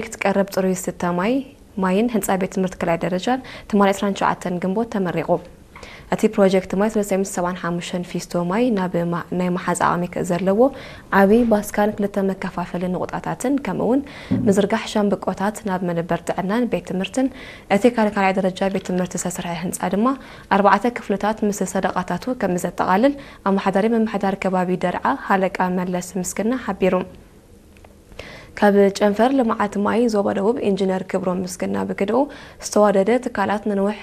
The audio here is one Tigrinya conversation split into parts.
ፕሮጀክት ቀረብ ጽሩይ ዝስተ ማይ፣ ማይን ህንጻ ቤት ትምህርቲ ካልኣይ ደረጃን ትማሊ ዕስራን ትሽዓተን ግንቦት ተመሪቑ። እቲ ፕሮጀክት ማይ ሰለስተ ሚእቲ ሰብዓን ሓሙሽተን ፊስቶ ማይ ናብ ማ-፣ ናይ መሓዝ ዓቕሚ ክ-፣ ዘለዎ ዓቢ ባስካን ክልተ መከፋፈሊ ንቑጣታትን፣ ከምኡ እውን ምዝርጋሕ ሻምብቆታት ናብ መደበር ጥዕናን ቤት ትምህርትን እቲ ካል-፣ ካልኣይ ደረጃ ቤት ትምህርቲ ዝተሰርሐ ህንጻ ድማ ኣርባዕተ ክፍልታት ምስ ሰደቓታቱ ከም ዘጠቓልል ኣመሓዳሪ ምምሕዳር ከባቢ ደርዓ ሃለቃ መለስ ምስግና ሓቢሩ። ካብ ጨንፈር ልምዓት ማይ ዞባ ደቡብ ኢንጂነር ክብሮም ምስግና ብግድኡ፣ ዝተዋደደ ትካላት ንንውሕ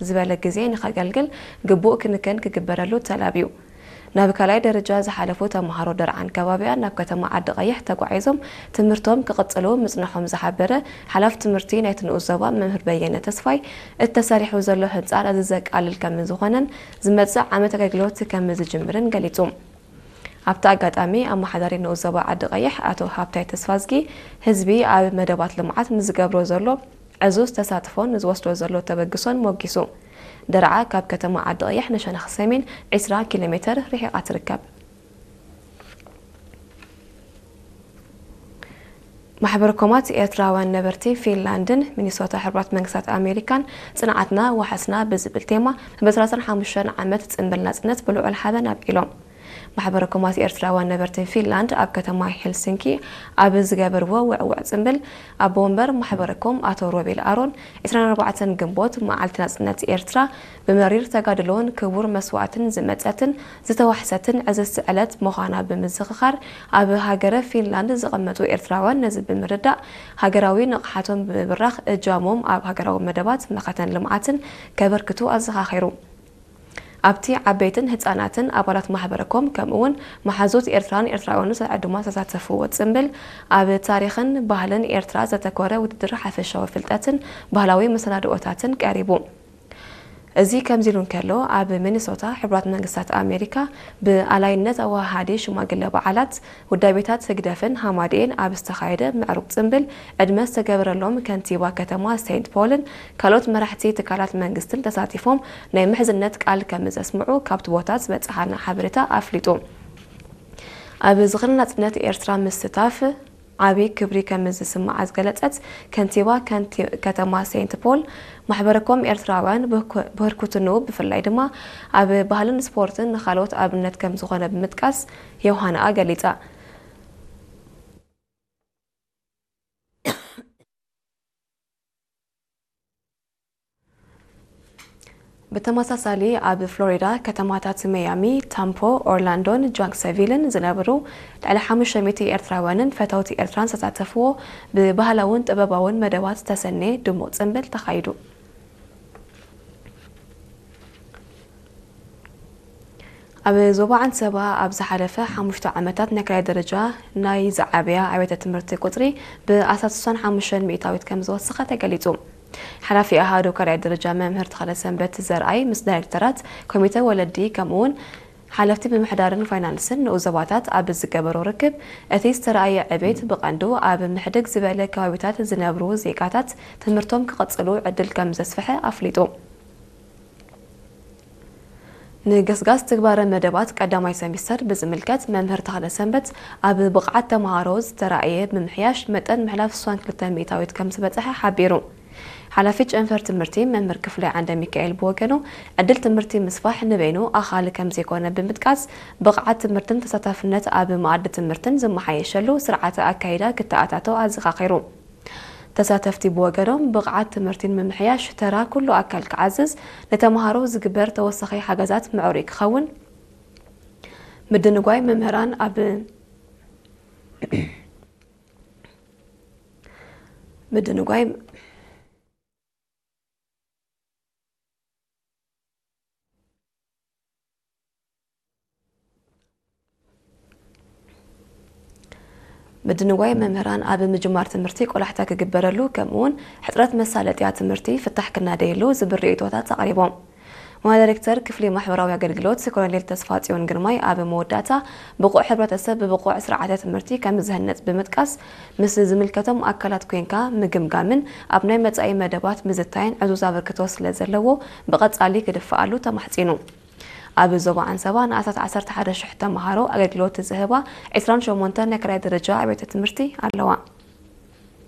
ዝበለ ግዜ ንኸገልግል ግቡእ ክንክን ክግበረሉ ተላብዩ። ናብ ካልኣይ ደረጃ ዝሓለፉ ተምሃሮ ደርዓን ከባቢኣን ናብ ከተማ ዓዲ ቀይሕ ተጓዒዞም ትምህርቶም ክቕጽሉ ምጽንሖም ዝሓበረ ሓላፊ ትምህርቲ ናይቲ ንኡስ ዞባ መምህር በየነ ተስፋይ፣ እቲ ተሰሪሑ ዘሎ ህንጻ ነዚ ዘቃልል ከም ዝኾነን ዝመጽእ ዓመት ኣገልግሎት ከም ዝጅምርን ገሊጹ። ኣብቲ ኣጋጣሚ ኣመሓዳሪ ንኡስ ዞባ ዓዲ ቀይሕ ኣቶ ሃብታይ ተስፋዝጊ፣ ህዝቢ ኣብ መደባት ልምዓት ንዝገብሮ ዘሎ ዕዙዝ ተሳትፎን ንዝወስዶ ዘሎ ተበግሶን ሞጊሱ። ደርዓ ካብ ከተማ ዓዲ ቀይሕ ንሸነኽ ሰሜን ዕስራ ኪሎ ሜተር ርሒቓ ትርከብ። ማሕበር ኮማት ኤርትራውያን ነበርቲ ፊንላንድን ሚኒሶታ ሕቡራት መንግስታት ኣሜሪካን ጽንዓትና ዋሕስና ብዝብል ቴማ ብዕስራን ሓሙሽተን ዓመት ጽንብል ናጽነት ብልዑል ሓበን ኣብዒሎም። ማሕበር ኮማት ኤርትራውያን ነበርቲ ፊንላንድ ኣብ ከተማ ሄልሲንኪ ኣብ ዝገበርዎ ውዕውዕ ጽንብል፣ ኣቦ ወንበር ማሕበረ ኮም ኣቶ ሮቤል ኣሮን፣ ዕስራን ኣርባዕተን ግንቦት መዓልቲ ናጽነት ኤርትራ ብመሪር ተጋድሎን ክቡር መስዋእትን ዝመጸትን ዝተዋሕሰትን ዕዝዝቲ ዕለት ምዃና ብምዝኽኻር፣ ኣብ ሃገረ ፊንላንድ ዝቐመጡ ኤርትራውያን ነዚ ብምርዳእ፣ ሃገራዊ ንቕሓቶም ብምብራኽ እጃሞም ኣብ ሃገራዊ መደባት መኸተን ልምዓትን ከበርክቱ ኣዘኻኺሩ። ኣብቲ ዓበይትን ህጻናትን ኣባላት ማሕበረ ኮም፣ ከምኡ እውን መሓዙት ኤርትራን ኤርትራውያንን ዕዱማት ዝተሳተፍዎ ጽምብል፣ ኣብ ታሪኽን ባህልን ኤርትራ ዘተኮረ ውድድር ሓፈሻዊ ፍልጠትን ባህላዊ መሰናድኦታትን ቀሪቡ። እዚ ከምዚ ኢሉ እንከሎ፣ ኣብ ሚኒሶታ ሕቡራት መንግስታት ኣሜሪካ ብኣላይነት ኣወሃሃዲ ሽማግለ በዓላት ውዳቤታት ህግደፍን ሃማደኤን ኣብ ዝተኻየደ ምዕሩግ ጽምብል፣ ዕድመ ዝተገበረሎም ከንቲባ ከተማ ሴንት ፖልን ካልኦት መራሕቲ ትካላት መንግስትን ተሳቲፎም ናይ ምሕዝነት ቃል ከም ዘስምዑ ካብቲ ቦታ ዝበጽሓና ሓበሬታ ኣፍሊጡ። ኣብ ዝኽሪ ናጽነት ኤርትራ ምስታፍ ዓቢ ክብሪ ከም ዝስምዓ ዝገለጸት ከንቲባ ከንቲ-፣ ከተማ ሴንት ፖል፣ ማሕበረ ኮም ኤርትራውያን ብህኩ-፣ ብህርኩትንኡ ብፍላይ ድማ ኣብ ባህልን ስፖርትን ንኻልኦት ኣብነት ከም ዝኾነ ብምጥቃስ ዮሃንኣ ገሊጻ። ብተመሳሳሊ ኣብ ፍሎሪዳ ከተማታት መያሚ፣ ታምፖ፣ ኦርላንዶን ጃክሰቪልን ዝነብሩ ልዕሊ ሓሙሽተ ሚእቲ ኤርትራውያንን ፈተውቲ ኤርትራን ዝተሳተፍዎ ብባህላውን ጥበባውን መደባት ዝተሰነየ ድሙቕ ጽምብል ተኻይዱ። ኣብ ዞባ ዓንሰባ ኣብ ዝሓለፈ ሓሙሽተ ዓመታት ናይ ካልኣይ ደረጃ ናይ ዝዓበያ ኣብያተ ትምህርቲ ቁጽሪ ብኣስታት ስሳን ሓሙሽተን ሚእታዊት ከም ዝወሰኸ ተገሊጹ። ሓላፊ ኣሃዱ ካልኣይ ደረጃ መምህር ተኽለሰንበት ዘርኣይ ምስ ዳይሬክተራት ኮሚተ ወለዲ ከምኡውን ሓለፍቲ ምምሕዳርን ፋይናንስን ንኡስ ዞባታት ኣብ ዝገበሮ ርክብ፣ እቲ ዝተረኣየ ዕቤት ብቐንዱ ኣብ ምሕድግ ዝበለ ከባቢታት ዝነብሩ ዜጋታት ትምህርቶም ክቕጽሉ ዕድል ከም ዘስፍሐ ኣፍሊጡ። ንገስጋስ ትግባረ መደባት ቀዳማይ ሰሚስተር ብዝምልከት፣ መምህር ተኽለ ሰንበት ኣብ ብቕዓት ተምሃሮ ዝተራእየ ምምሕያሽ መጠን ምሕላፍ ስሳን ክልተ ሚእታዊት ከም ዝበጽሐ ሓቢሩ። ሓላፊ ጨንፈር ትምህርቲ መምህር ክፍላይ ዓንደ ሚካኤል ብወገኑ፣ ዕድል ትምህርቲ ምስፋሕ ንበይኑ ኣኻሊ ከም ዘይኮነ ብምጥቃስ፣ ብቕዓት ትምህርትን ተሳታፍነት ኣብ መኣዲ ትምህርትን ዝመሓየሸሉ ስርዓተ ኣካይዳ ክተኣታቶ ኣዘኻኺሩ። ተሳተፍቲ ብወገኖም፣ ብቕዓት ትምህርቲ ንምምሕያሽ ተራ ኩሉ ኣካል ክዓዝዝ፣ ንተምሃሮ ዝግበር ተወሳኺ ሓገዛት ምዕሩይ ክኸውን፣ ምድንጓይ መምህራን ኣብ ምድንጓይ ምድንጓይ መምህራን ኣብ ምጅማር ትምህርቲ ቆላሕታ ክግበረሉ፣ ከምኡውን ሕጽረት መሳለጥያ ትምህርቲ ፍታሕ ክናደየሉ ዝብል ርእይቶታት ኣቕሪቦም። ዋና ዳይሬክተር ክፍሊ ማሕበራዊ ኣገልግሎት ኮሎኔል ተስፋጽዮን ግርማይ ኣብ መወዳእታ፣ ብቑዕ ሕብረተሰብ ብብቑዕ ስርዓተ ትምህርቲ ከም ዝህነጽ ብምጥቃስ፣ ምስ ዝምልከቶም ኣካላት ኮይንካ ምግምጋምን ኣብ ናይ መጻኢ መደባት ምዝታይን ዕዙዝ ኣበርክቶ ስለ ዘለዎ ብቐጻሊ ክድፈኣሉ ተማሕጺኑ። ኣብ ዞባ ዓንሰባ ንኣስታት ዓሰርተ ሓደ ሽሕ ተምሃሮ ኣገልግሎት ዝህባ ዕስራን ሸሞንተ ናይ ካልኣይ ደረጃ ኣብያተ ትምህርቲ ኣለዋ።